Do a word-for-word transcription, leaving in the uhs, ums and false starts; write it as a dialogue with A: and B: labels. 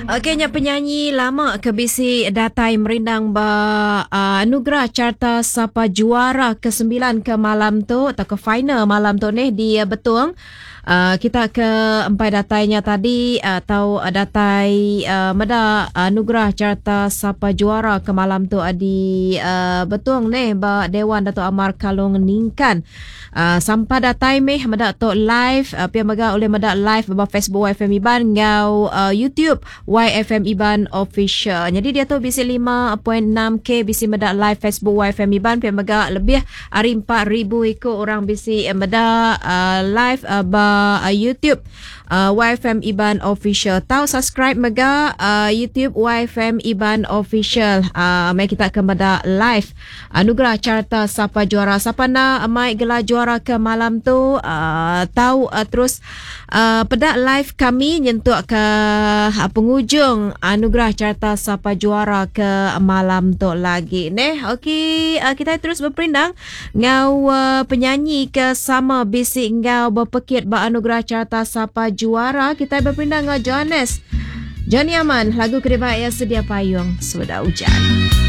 A: Okey nya penyanyi lama ke bisi datai merindang ba uh, anugerah carta sapa juara ke sembilan ke malam tu atau ke final malam tu nih di Betong. Uh, kita ke empai datainya tadi atau uh, datai uh, meda anugerah carta sapa juara ke malam tu uh, di uh, Betong nih ba Dewan Dato' Amar Kalong Ningkan. Uh, sampai datai meh meda tu live uh, pia mega oleh meda live ba Facebook Y F M Iban ngau uh, YouTube Y F M Iban Official. Jadi dia tu bisi lima point enam K bisi meda live Facebook Y F M Iban pia mega lebih ari empat ribu ikut orang bisi meda uh, live uh, ba uh, YouTube uh, Y F M Iban Official. Tau subscribe mega uh, YouTube Y F M Iban Official. Uh, mai kita ke meda live anugerah carta sapa juara. Sapa na mai gelar juara ke malam tu uh, tau uh, terus uh, pedak live kami nyentuk ke uh, penghujung anugerah carta sapa juara ke malam tu lagi neh. Okey, uh, kita terus berperindang ngau uh, penyanyi ke sama bisi ngau berpekit ba anugerah carta sapa juara. Kita berperindang ngau Johannes Johnny Aman, lagu kedua ya Sedia Payung Sudah Hujan.